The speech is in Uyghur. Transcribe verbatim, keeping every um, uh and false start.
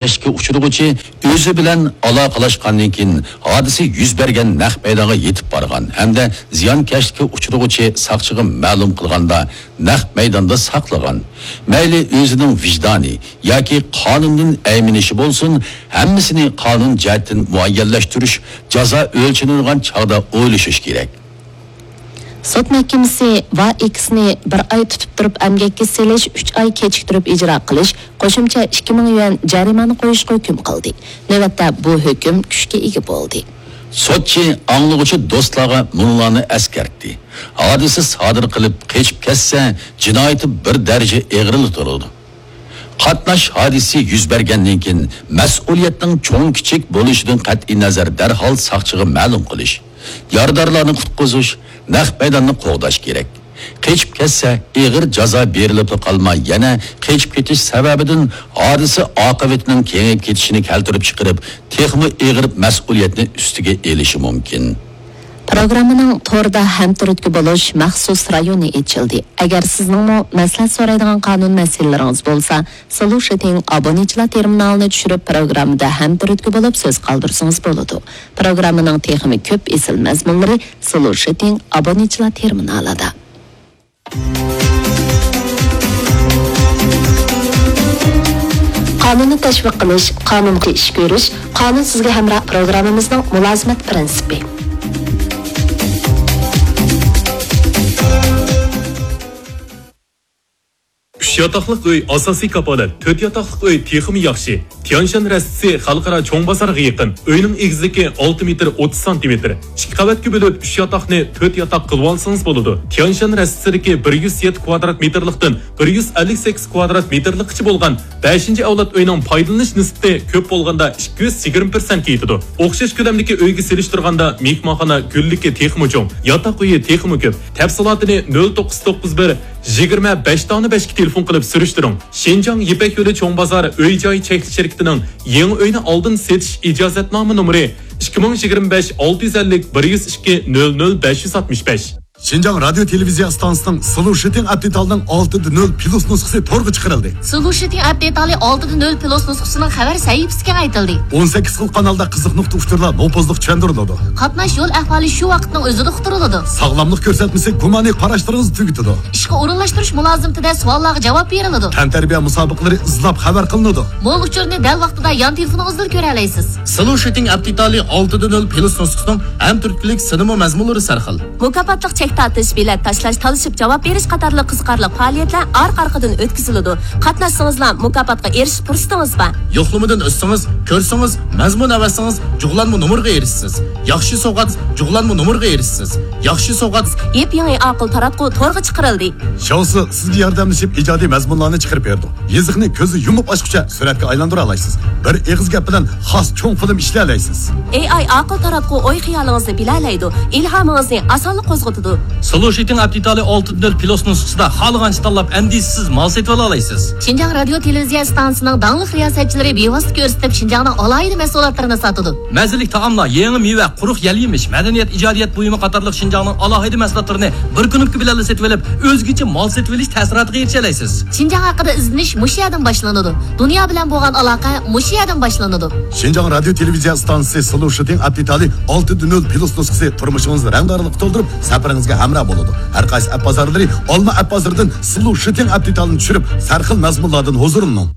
زىيانكەشلىككە ئۇچرىغۇچى ئۆزى بىلەن ئالاقىلەشقاندىن كېيىن، ھادىسە يۈز بەرگەن نەق مەيدانغا يېتىپ بارغان ھەمدە زىيانكەشلىككە ئۇچرىغۇچى ساقچىغا مەلۇم قىلغاندا، نەق مەيداندا ساقلىغان. مەيلى ئۆزىنىڭ ۋىجدانى ياكى قانۇندىن ئەيمىنىشى بولسۇن، ھەممىسىنى قانۇن جەھەتتىن مۇئەييەنلەشتۈرۈش، جازا ئۆلچىنىدىغان چاغدا ئويلىشىش كېرەك. سوت مەھكىمىسى ۋا ئېكسنى بىر ئاي تۇتۇپ تۇرۇپ ئەمگەككە سېلىش، ئۈچ ئاي كېچىكتۈرۈپ ئىجرا قىلىش، قوشۇمچە ئىككى مىڭ يۈەن جەرىمانە قويۇشقا ھۆكۈم قىلدى. نۆۋەتتە بۇ ھۆكۈم كۈچكە ئىگە بولدى. سوتچى ئاڭلىغۇچى دوستلارغا مۇنۇلارنى ئەسكەرتتى: ھادىسە سادىر قىلىپ قېچىپ كەتسە، جىنايىتى بىر دەرىجە ئېغىرلا تۇرىدۇ. قاتناش ھادىسىسى يۈز بەرگەندىن كېيىن، مەسئۇلىيەتنىڭ چوڭ-كىچىك بولۇشىدىن قەتئىينەزەر، دەرھال ساقچىغا مەلۇم قىلىش، يارىدارلارنى قۇتقۇزۇش، نەق مەيداننى قوغداش كېرەك. قېچىپ كەتسە، ئېغىر جازا بېرىلىپلا قالماي، يەنە قېچىپ كېتىش سەۋەبىدىن ھادىسە ئاقىۋىتىنىڭ كېڭىيىپ كېتىشىنى كەلتۈرۈپ چىقىرىپ، تېخىمۇ ئېغىر مەسئۇلىيەتنى ئۈستىگە ئېلىشى مۇمكىن. پروگراممىنىڭ توردا ھەمتۈرتكە بولۇش مەخسۇس رايونى ئېچىلدى. ئەگەر سىزنىڭمۇ مەسلىھەت سورايدىغان قانۇن مەسىلىلىرىڭىز بولسا، سولۇشىتىڭ ئابونېنتچىلار تېرمىنالىنى چۈشۈرۈپ، پروگراممىدا ھەمتۈرتكە بولۇپ سۆز قالدۇرسىڭىز بولىدۇ. پروگراممىنىڭ تېخىمۇ كۆپ ئېسىل مەزمۇنلىرى سولۇشىتىڭ ئابونېنتچىلار تېرمىنالىدا. قانۇننى تەشۋىق قىلىش، قانۇنغا ئىش كۆرۈش، قانۇن سىزگە ھەمراھ پروگراممىمىزنىڭ مۇلازىمەت پىرىنسىپى. ئۈچ ياتاقلىق ئۆي ئاساسىي كاپالەت، تۆت ياتاقلىق ئۆي تېخىمۇ ياخشى. تيانشان رەستىسى خەلقئارا چوڭ بازارغا يېقىن. ئۆينىڭ ئېگىزلىكى ئالتە مېتىر ئوتتۇز سانتىمېتىر. ئىككى قەۋەتكە بۆلۈپ، ئۈچ ياتاقنى تۆت ياتاق قىلىۋالسىڭىز بولىدۇ. تيانشان رەستىسىدىكى بىر يۈز يەتتە كۋادرات مېتىرلىقتىن بىر يۈز ئەللىك سەككىز كۋادرات مېتىرلىققىچە بولغان بەشىنچى ئەۋلاد ئۆينىڭ پايدىلىنىش نىسبىتى كۆپ بولغاندا ئىككى يۈز يىگىرمە پىرسەنتكە يېتىدۇ. ئوخشاش كۆلەمدىكى ئۆيگە سېلىشتۇرغاندا مېھمانخانا گۈللۈكى تېخىمۇ چوڭ، ياتاق ئۆيى تېخىمۇ كۆپ. تەپسىلاتىنى نۆل توققۇز توققۇز بىر، يىگىرمە بەش دانە بەشكە تېلېفون قىلىپ سۈرۈشتۈرۈڭ. شىنجاڭ يىپەك يولى چوڭ بازار ئۆي جاي چەكلىك شىركىتىنىڭ يېڭى ئۆينى ئالدىن سېتىش ئىجازەتنامە نومۇرى ئىككى مىڭ يىگىرمە بەش ئالتە يۈز ئەللىك بىر يۈز ئىككى نۆل نۆل بەش يۈز ئاتمىش بەش. شىنجاڭ رادىيو تېلېۋىزىيە ئىستانسىسىنىڭ سولۇشىتىڭ ئەپ دېتالىنىڭ ئالتە دە نۆل پلۇس نۇسخىسى تورغا چىقىرىلدى. سولۇشىتىڭ ئەپ دېتالى ئالتە دە نۆل پلۇس نۇسخىسىنىڭ خەۋەر سەھىپىسى كېڭەيتىلدى. ئون سەككىز خىل قانالدا قىزىق نۇقتا ئۇچۇرلار نوپۇزلۇق چۈشەندۈرۈلىدۇ. قاتناش يول ئەھۋالى شۇ ۋاقىتنىڭ ئۆزىدە ئۇقتۇرۇلىدۇ. ساغلاملىق كۆرسەتمىسى گۇمانىي قاراشلىرىڭىزنى تۈگىتىدۇ. ئىشقا ئورۇنلاشتۇرۇش مۇلازىمىتىدە سوئاللارغا جاۋاب بېرىلىدۇ. تەنتەربىيە مۇسابىقىلىرى ئىزلاپ خەۋەر قىلىنىدۇ. مول ئۇچۇرنى دەل ۋاقتىدا يان تېلېفونىڭىزدىلا كۆرەلەيسىز. سولۇشىتىڭ ئەپ دېتالى ئالتە دە نۆل پلۇس نۇسخىسىنىڭ ھەم تۈرتكىلىك سىنىمۇ مەزمۇنلىرى سەرخىل. مۇكاپاتلىق چەك تارتىش، بېلەت تاشلاش، تالىشىپ جاۋاب بېرىش قاتارلىق قىزىقارلىق پائالىيەتلەر ئارقا-ئارقىدىن ئۆتكۈزۈلىدۇ. قاتناشسىڭىزلا مۇكاپاتقا ئېرىشىش پۇرسىتىڭىز بار. يوقلىمىدىن ئۆتسىڭىز، كۆرسىڭىز، مەزمۇن ئەۋەتسىڭىز، جۇغلانما نومۇرغا ئېرىشىسىز. ياخشى سوۋغات، جۇغلانما نومۇرغا ئېرىشىسىز. ياخشى سوۋغات. يېپيېڭى ئاقىل تاراتقۇ تورغا چىقىرىلدى. شاۋسى سىزگە ياردەملىشىپ ئىجادىي مەزمۇنلارنى چىقىرىپ بېرىدۇ. يېزىقنى كۆزى يۇمۇپ ئاچقۇچە سۈرەتكە ئايلاندۇرالايسىز. بىر ئېغىز گەپ بىلەن خاس چوڭ فىلىم ئىشلىيەلەيسىز. ئېي ئاي ئاقىل تاراتقۇ ئوي خىيالىڭىزنى بىلەلەيدۇ، ئىلھامىڭىزنى ئاسانلا قوزغىتىدۇ. سولۇشىتىڭ ئەپ دېتالى ئالتە دە نۆل پلۇس نۇسخىسىدا خالىغانچە تاللاپ ئەندىشىسىز مال سېتىۋالالايسىز. شىنجاڭ رادىيو تېلېۋىزىيە ئىستانسىسىنىڭ داڭلىق رىياسەتچىلىرى بىۋاسىتە كۆرسىتىپ شىنجاڭنىڭ ئالاھىدە مەھسۇلاتلىرىنى ساتىدۇ. مەززىلىك تائاملار، يېڭى مېۋە، قۇرۇق يەل-يېمىش، مەدەنىيەت، ئىجادىيەت بۇيۇمى قاتارلىق شىنجاڭنىڭ ئالاھىدە مەھسۇلاتلىرىنى بىر كۇنۇپكا بىلەنلا سېتىۋېلىپ، ئۆزگىچە مال سېتىۋېلىش تەسىراتىغا ئېرىشەلەيسىز. شىنجاڭ ھەققىدە ئىزدىنىش مۇشۇ يەردىن باشلىنىدۇ. دۇنيا بىلەن بولغان ئالاقە مۇشۇ يەردىن باشلىنىدۇ. شىنجاڭ رادىيو تېلېۋىزىيە ئىستانسىسى سولۇشىتىڭ ئەپ دېتالى ئالتە دە نۆل پلۇس نۇسخىسى تۇرمۇشىڭىزنى رەڭدارلىققا تولدۇرۇپ، سەپىرىڭىزگە ھەمراھ بولىدۇ. ھەر قايسى ئەپ بازارلىرى، ئالما ئەپ بازىرىدىن سولۇشىتىڭ ئەپ دېتالىنى چۈشۈرۈپ، سەرخىل مەزمۇنلاردىن ھۇزۇرلىنىڭ.